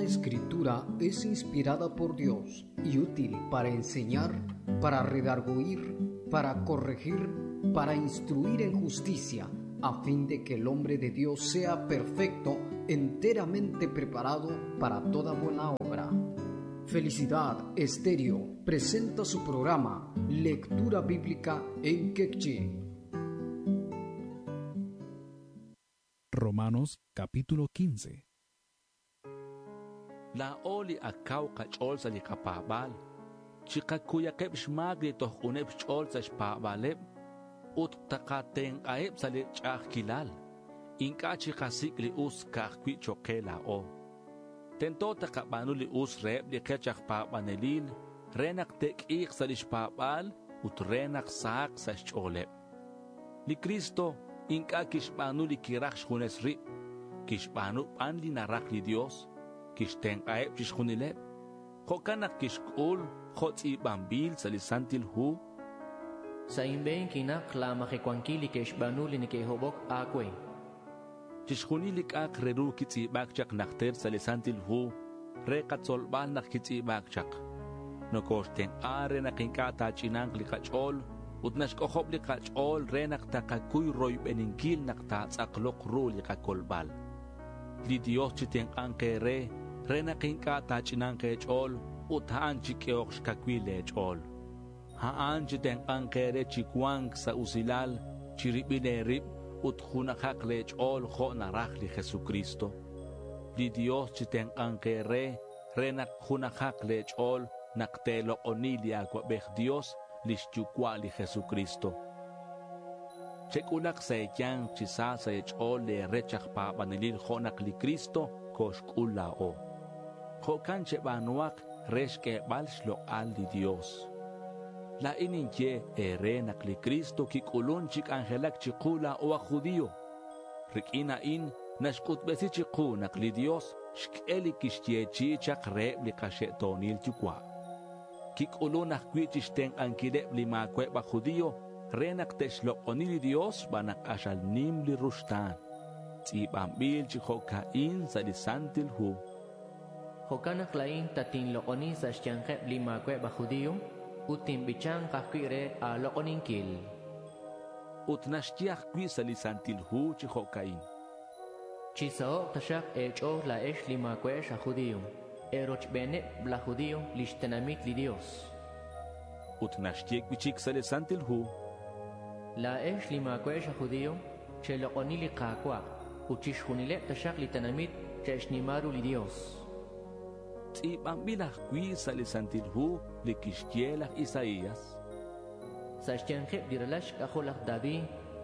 Escritura es inspirada por Dios y útil para enseñar, para redarguir, para corregir, para instruir en justicia, a fin de que el hombre de Dios sea perfecto, enteramente preparado para toda buena obra. Felicidad Estéreo presenta su programa Lectura Bíblica en Quechí. Romanos capítulo 15. Laa'o li akaw qach'ool sa' li qapaab'aal, chiqakuyaqeb' xmaak li tojq'uneb' xch'ool sa' xpaab'aaleb' ut taqatenq'aheb' sa' li ch'a'ajkilal. Ink'a' chiqasik' li us ka'ajwi' cho'q qe laa'o. Tento taqab'aanu li us reheb' li qech aj paab'anelil re naq te'k'iiq sa' li xpaab'aal ut re naq sahaq sa' xch'ooleb'. Li Cristo ink'a' kixb'aanu li kiraj xjunes rib', kixb'aanu b'an li naraj li Dios, kixtenq'aheb' chixjunileb'. Jo'kan naq kixk'ul jo' tz'iib'anb'il sa' li Santil Hu. Sa' inb'een kinaq laamajecuanquil li ke'xb'aanu li neke'hobok aawe. Chixjunil li k'a'aq re ru kitz'iib'aak chaq najter sa' li Santil Hu re qatzolb'al naq kitz'iib'aak chaq. Nokoxtenq'a re naq ink'a' taach'inanq li qach'ool ut naxk'ojob' li qach'ool re naq taqakuy royb'eninkil naq taatz'aqloq ru li qakolb'al. Li Dios chitenq'anq eere re naq ink'a' taach'inanq eech'ool ut a'an chik'ehoq xkawil eech'ool. A'an chitenq'anq eere chi cuanc sa' usilal chiribil eerib ut junajaq leech'ool jo' naraj li Jesucristo. Li Dios chitenq'anq eere re naq junajaq leech'ool naq teelok'oni li Acuabej Dios lix yucua' li Jesucristo. Chec'ulak sa' e̱ya̱nk chi sa sa' e̱ch'ool le̱ rech aj pa̱banelil jo' nak li Cristo coxc'ul la̱o. Jo'can cheba̱nuhak re xq'uebal xlok'al li Dios. La̱in ninye e̱re nak li Cristo quic'ulun chi c'anjelac chiku la̱o aj judío. Riq'uin a'in naxc'utbesi chiku nak li Dios xq'ue li quixyechi'i chak reheb li kaxe'to̱nil yucua'. Quic'ulun ajcui' chixtenk'anquileb li ma̱cua'eb aj judío re nak te'xlok'oni li Dios xban nak k'axal nim li ruxta̱n. Tz'i̱banbil chi jo'ca'in sa' li Santil Hu. Jo'kan naq laa'in tatinlok'oni sa' xyanqeb' li ma̱cua'eb aj judío ut tinbichanq ajcui' re a̱lok'oninquil. Ut naxye ajcui' sa' li Santil Hu chi jo'ca'in. Chisaho'q taxaq eech'ool laa'ex li ma̱cua'ex aj judío, erochbeneb laj judío lix tenamit li Dios. Ut naxye cui'chic sa' li Santil Hu. Laa'ex li ma̱cua'ex aj judío, chelok'oni li Ka̱cua' ut chixjunileb taxak li tenamit che'xnima ru li Dios. Tz'i̱banbil ajcui' sa' li Santil Hu li quixye laj Isaías. Sa' xyanqeb li ralal xk'ajol laj David,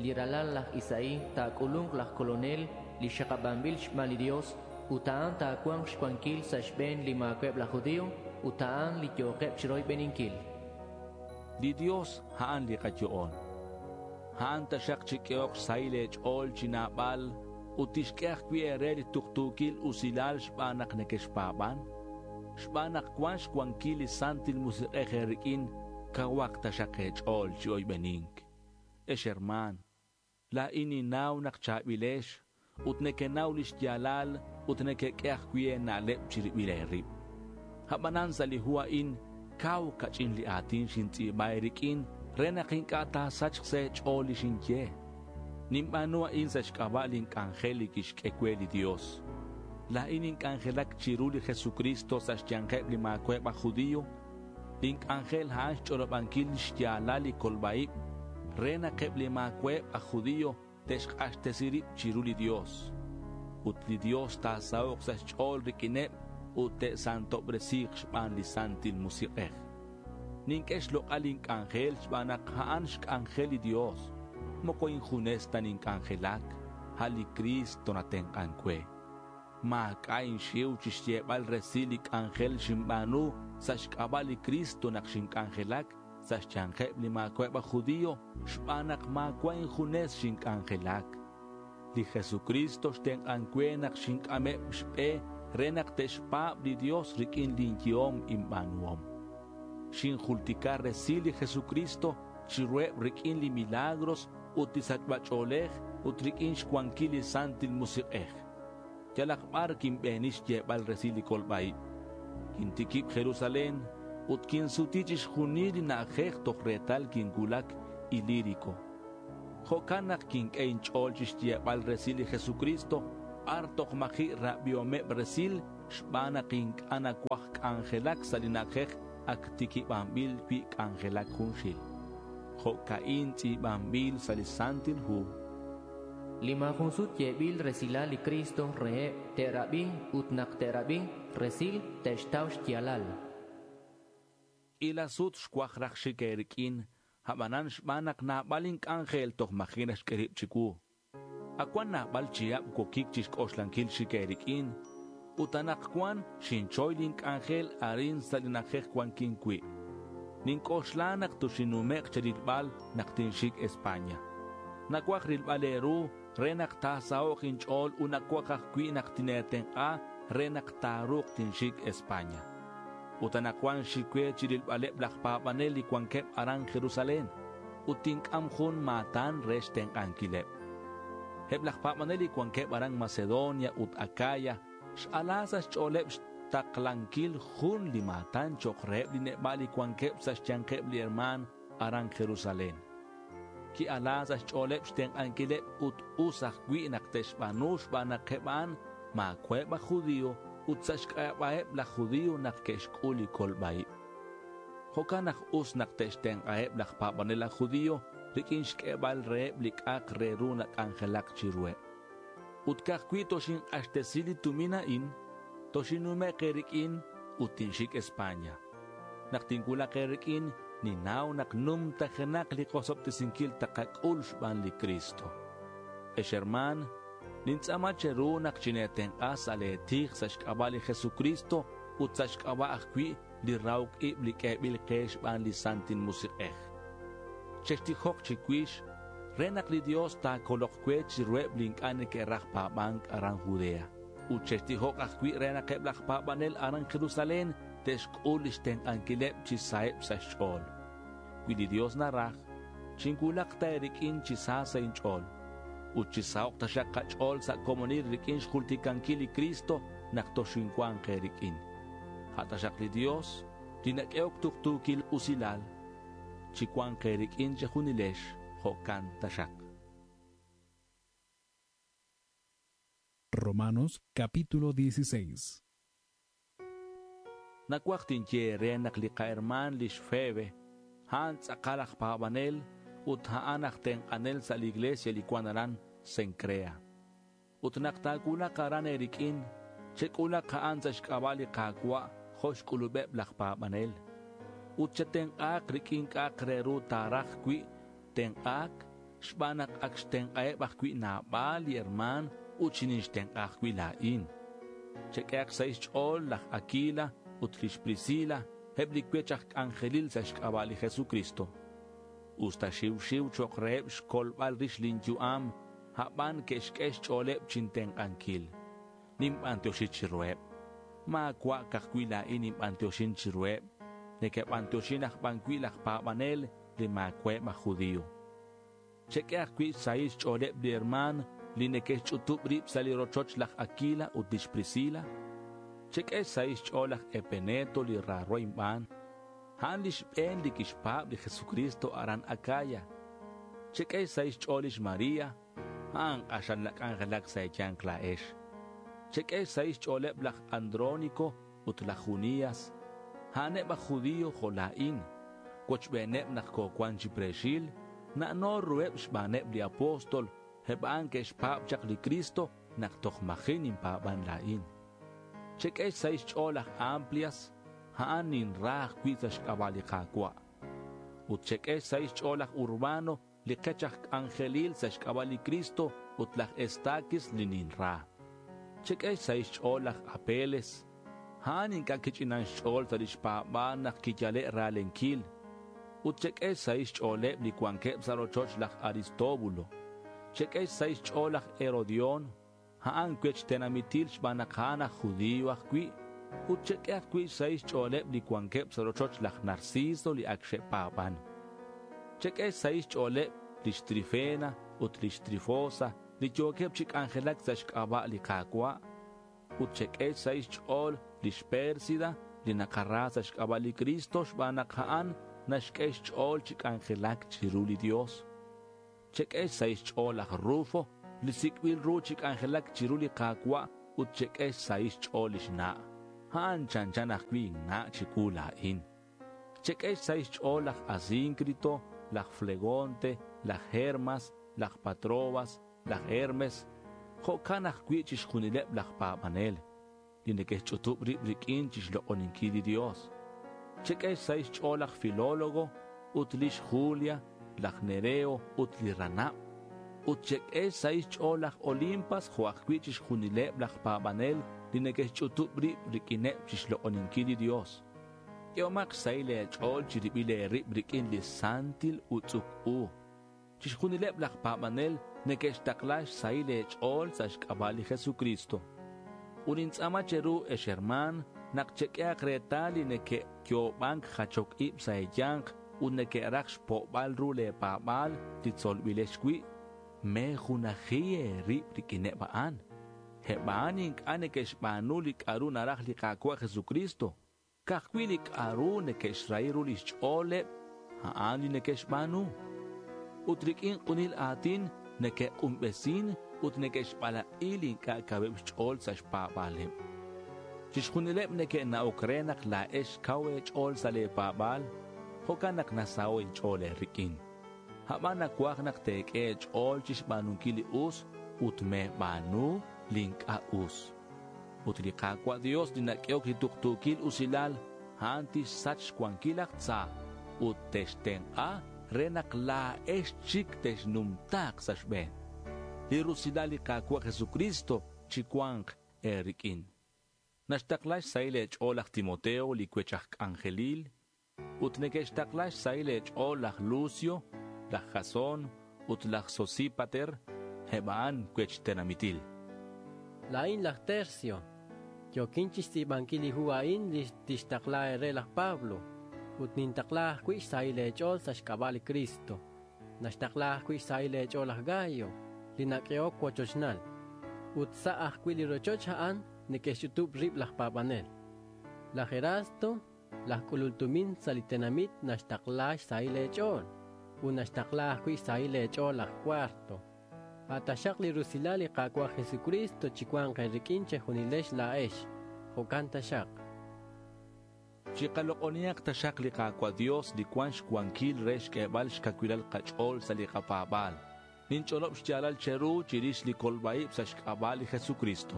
li ralal laj Isaí, ta̱c'ulunk laj colonel li xakabanbil xban li Dios ut a'an ta̱cua̱nk xcuanquil sa' xbe̱n li ma̱cua'eb laj judío ut a'an li yo̱keb chiroybeninquil. Li Dios a'an li kayo'on. A'an taxak chik'ehok xsahil eech'ool chi naab'al ut tixq'ue ajcui' eere li tuktu̱quil usilal xban nak nequexpa̱ban. Xban nak cuan xcuanquil li Santil Musik'ej e̱riq'uin, cauhak taxak eech'ool chi oybenink. Ex herma̱n, la̱in ninnaw nak cha̱bilex ut nequenau lix ya̱lal ut nequeq'ue ajcui' e̱na'leb chiribil e̱rib. Abanan sa' li hu a'in, cau cach'in li a̱tin xintz'i̱ba e̱riq'uin re nak ink'a' ta̱sachk sa' e̱ch'ool li xinye. Ninba̱nu a'in sa' xc'aba' lin c'anjel li quixq'ue cue li Dios. La̱in inc'anjelac chiru li Jesucristo sa' xya̱nkeb li ma̱cua'eb aj judío. Lin c'anjel a'an xch'olobanquil lix ya̱lal li colba-ib re nak eb li ma̱cua'eb aj judío te'xk'axtesi rib chiru li Dios. Ut li Dios ta̱sahok sa' xch'ool riq'uineb ut te'santobresi̱k xban li Santil Musik'ej. Ninq'ue xlok'al lin c'anjel xban nak a'an xc'anjel li Dios. Moco injunes ta ninc'anjelac, a' li Cristo natenk'an cue. Ma̱c'a' inxiu chixyebal resil li c'anjel xinba̱nu sa' xc'aba' li Cristo nak xinc'anjelac sa' xya̱nkeb li ma̱cua'eb aj judío xban nak ma̱cua' injunes xinc'anjelac. Li Jesucristo xtenk'an cue nak xinc'ameb xbe re nak te'xpa̱b li Dios riq'uin lin yehom inba̱nuhom. Xinjultica resil li Jesucristo chiruheb riq'uin li milagros ut li sachb'a ch'oolej ut riq'uin xcuanquil li Santil Musik'ej. Yalaq b'ar kinb'eeni xyeeb'al resil li kolb'a-ib. Kintikib' Jerusalén ut kinsuti chixjunil li na'ajej toj reetal kinwulak Ilírico. Jo'kan naq kink'e inch'ool chixyeeb'al resil li Jesucristo b'ar toj maji' rab'ihomeb' resil xb'aan naq ink'a' nawaj k'anjelak sa' li na'ajej ak tikib'anb'il wi' k'anjelak junxil. Jo'ka'in tz'iib'anb'il sa' li Santil Hu. Li maajun sut yeeb'il resilal li Cristo reheb' te'rab'i ut naq te'rab'i resil te'xtaw xyaalal. K'ila sut xwaj raj xik eerik'in, ab'anan xb'aan naq naab'al ink'anjel toj maji' naxk'e rib' chiwu. Akuan naab'al chihab' wokik chixk'oxlankil xik eerik'in, ut anaqwan xinchoy link'anjel arin sa' li na'ajej wankin wi'. Nink'oxla naq toxinnume'q cherilb'al naq tinxik España. Nawaj rilb'al eeru re naq taasaho'q inch'ool ut nawaj ajwi' naq tineetenq'a re naq taaruuq tinxik España. Ut anaqwan xik we chirilb'aleb' laj paab'anel li wankeb' aran Jerusalén ut tink'am jun maatan re xtenq'ankileb'. Eb' laj paab'anel li wankeb' aran Macedonia ut Acaya x'ala sa' xch'ooleb' xtaqlankil jun li maatan cho'q reheb' li neb'a' li wankeb' sa' xyanqeb' li hermaan aran Jerusalén. Ki'ala sa' xch'ooleb' xtenq'ankileb' ut us ajwi' naq te'xb'aanu xb'aan naq eb' a'an maawa'eb' aj judío ut sa' xk'ab'a'eb' laj judío naq ke'xk'ul li kolb'a-ib'. Jo'kan naq us naq te'xtenq'aheb' laj paab'anel aj judío rik'in xk'eeb'al reheb' li k'a'aq re ru nak'anjelak chiruheb'. Ut ka'ajwi' toxinq'axtesi li tumin a'in, toxinnume'q eerik'in ut tinxik España. Naq tinwulaq eerik'in, ninnaw naq numtajenaq li qosob'tesinkil taqak'ul xb'aan li Cristo. Ex hermaan, nintz'aama cheru naq chineetenq'a sa' leetij sa' xk'ab'a' li Jesucristo ut sa' xk'ab'a' ajwi' li rahok ib' li k'eeb'il qe xb'aan li Santil Musiq'ej. Chextijoq chiwix re naq li Dios taakoloq we chiruheb' li ink'a' neke'raj paab'ank aran Judea. Ut chextijoq ajwi' re naq eb' laj paab'anel aran Jerusalén te'xk'ul lix tenq'ankileb' chi saheb' sa' xch'ool. Wi li Dios naraj, chinwulaq ta eerik'in chi sa sa' inch'ool. Ut chi saho'q taxaq qach'ool sa' komonil rik'in xjultikankil li Cristo naq toxinwanq eerik'in. A' taxaq li Dios, li nak'ehok tuqtuukil usilal, chiwanq eerik'in chejunilex jo'kan taxaq. Romanos capítulo 16. Nawaj tinye eere naq li qahermaan lix Febe, a'an tz'aqal aj paab'anel ut a'an aj tenq'anel sa' li iglesia li cuan aran Cencrea. Ut naq ta̱cuulak aran eerik'in, chek'ulak a'an sa' xk'ab'a' li Qaawa' jo' xk'ulub'eb' laj paab'anel. Ut chetenq'aaq rik'in k'a'aq re ru taaraj wi' tenq'aak xb'aan naq ak xtenq'aheb' ajwi' naab'al li hermaan ut xinixtenq'a ajwi' laa'in. Chek'ehaq sa' xch'ool laj Aquila ut lix Priscila, eb' li cuech aj k'anjelil sa' xk'ab'a' li Jesucristo. Usta xiw xiw cho'q reheb' xkolb'al rix linyu'am, a'b'an ke'xk'e xch'ooleb' chintenq'ankil. Ninb'antioxi chiruheb'. Maawa' ka'ajwi' laa'in ninb'antioxin chiruheb'. Neke'b'antioxin aj b'an wi' laj paab'anel li maawa'eb' aj judío. Chek'e ajwi' xsahil xch'ooleb' li hermaan li neke'xch'utub' rib' sa' li rochoch laj Aquila ut lix Priscila. Chek'e xsahil xch'ool laj Epeneto li raaro inb'aan. A'an li xb'een li kixpaab' li Jesucristo aran Acaya. Chek'e xsahil xch'ool lix María, a'an q'axal nak'anjelak sa' eeyanq laa'ex. Chek'e xsahil xch'ooleb' laj Andrónico ut laj Junias. A'aneb' aj judío jo' laa'in. Wochb'eeneb' naq koowan chi preexil, na'no ruheb' xb'aaneb' li apóstol, eb' a'an ke'xpaab' chaq li Cristo naq toj maji' ninpaab'an laa'in. Chek'e xsahil xch'ool laj Amplias, a'an ninra ajwi' sa' xk'ab'a' li Qaawa'. Ut chek'e xsahil xch'ool laj Urbano li qech aj k'anjelil sa' xk'ab'a' li Cristo ut laj Estaquis li ninra. Chek'e xsahil xch'ool laj Apeles, a'an ink'a' kich'inan xch'ool sa' lix paab'aal naq kiyale' ralenkil. Ut chek'e xsahil xch'ooleb' li wankeb' sa' rochoch laj Aristóbulo. Chek'e xsahil xch'ool laj Herodión, a'an cuech tenamitil xb'aan naq a'an aj judío ajwi'. Ut chek'e ajwi' xsahil xch'ooleb' li wankeb' sa' rochoch laj Narciso li ak xe'paab'an. Chek'e xsahil xch'ooleb' lix Trifena ut lix Trifosa li yookeb' chi k'anjelak sa' xk'ab'a' li Qaawa'. Ut chek'e xsahil xch'ool lix Pérsida li nakara sa' xk'ab'a' li Cristo xb'aan naq a'an naxk'e xch'ool chi k'anjelak chiru li Dios. Chek'e xsahil xch'ool laj Rufo li sik'b'il ru chi k'anjelak chiru li Qaawa' ut chek'e xsahil xch'ool lix na'. A'an chanchan ajwi' na' chiwu laa'in. Chek'e xsahil xch'ool laj Asíncrito, laj Flegonte, laj Hermas, laj Patrobas, laj Hermes, jo'kan ajwi' chixjunileb' laj paab'anel li neke'xch'utub' rib' rik'in chixlok'oninkil li Dios. Chek'e xsahil xch'ool laj Filólogo ut lix Julia, laj Nereo ut li ranab'. Ut chek'e xsahil xch'ool laj Olimpas jo' ajwi' chixjunileb' laj paab'anel li neke'xch'utub' rib' rik'ineb' chixlok'oninkil li Dios. K'ehomaq xsahil eech'ool chirib'il eerib' rik'in li santil utz'uk u. Chixjunileb' laj paab'anel neke'xtaqla xsahil eech'ool sa' xk'ab'a' li Jesucristo. Ut nintz'aama cheru, ex hermaan, naq chek'ehaq reetal li neke'yoob'ank jachok ib' sa' eeyanq ut neke'raj xpo'b'al ru leepaab'aal li tzolb'ilex wi'. Meejunaji eerib' rik'ineb' a'an. Eb' a'an ink'a' neke'xb'aanu li k'a'ru naraj li Qaawa' Jesucristo. Ka'ajwi' li k'a'ru neke'xrahi ru lix ch'ooleb' a'an li neke'xb'aanu. Ut rik'in q'unil aatin neke'q'unb'esin ut neke'xb'alaq'i li ink'a' kaweb' xch'ool sa' xpaab'aaleb'. Chixjunileb' neke'na'ok re naq laa'ex kaw eech'ool sa' leepaab'aal, jo'kan naq nasaho' inch'ool eerik'in. A'b'an nacuaj naq teek'e eech'ool chixb'aanunkil li us ut meeb'aanu li ink'a' us. Ut li Qaawa' Dios li nak'ehok li tuqtuukil usilal, a'an tixsach xwankil laj tza ut textenq'a re naq laa'ex chik texnumtaaq sa' xb'een. Li rusilal li Qaawa' Jesucristo chiwanq eerik'in. Naxtaqla xsahil eech'ool laj Timoteo li cuech aj k'anjelil ut neke'xtaqla xsahil eech'ool laj Lucio, laj Jasón ut laj Sosípater, eb' a'an cuech tenamitil. Laa'in laj Tercio. Yo'kin chixtz'iib'ankil li hu a'in li tixtaqla eere laj Pablo. Ut nintaqla ajwi' xsahil eech'ool sa' xk'ab'a' li Cristo. Naxtaqla ajwi' xsahil eech'ool laj Gayo, li nak'ehok wochochnal. Ut sa' ajwi' li rochoch a'an neke'xch'utub' rib' laj paab'anel. Laj Erasto, laj k'ulul tumin sa' li tenamit naxtaqla xsahil eech'ool. Ut naxtaqla ajwi' xsahil eech'ool laj Cuarto. Ataxaq li rusilal li Qaawa' Jesucristo chiwanq eerik'in chejunilex laa'ex. Jo'kan taxaq. Chiqaloq'onihaq taxaq li Qaawa' Dios li cuan xcuanquil re xk'ebal xcacuilal kach'ool sa' li kapaab'aal. Ninch'olob xyaalal cheru chirix li kolb'aib' sa' xk'ab'a' li Jesucristo.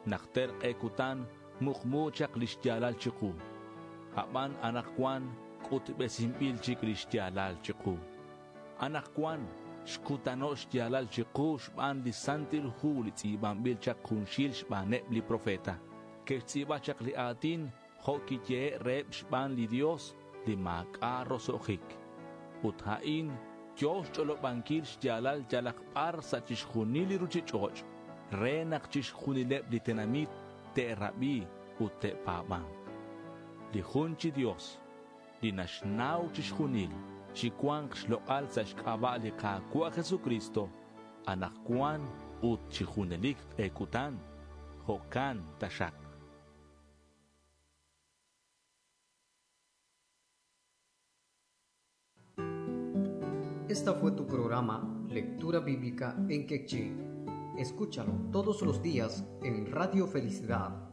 Najter q'e kutan muqmu chaq li xyaalal chiqu. A'b'an anaqwan k'utb'esinb'il chik li xyaalal chiqu. Anaqwan xkutano' xyaalal chiqu xb'aan li Santil Hu li tz'iib'anb'il chaq junxil xb'aaneb' li profeta. Ke'xtz'iib'a chaq li aatin jo' kiyehe' reheb' xb'aan li Dios li maak'a' roso'jik. Ut a'in yo xch'olob'ankil xyaalal yalaq b'ar sa' chixjunil li ruchich'och' re naq chixjunileb' li tenamit te'rab'i ut te'paab'anq. Li jun chi Dios, li naxnaw chixjunil, chiwanq xloq'al sa' xk'ab'a' li Qaawa' Jesucristo, anaqwan ut chi junelik q'e kutan, jo'kan taxaq. Esta fue tu programa Lectura Bíblica en Quechí. Escúchalo todos los días en Radio Felicidad.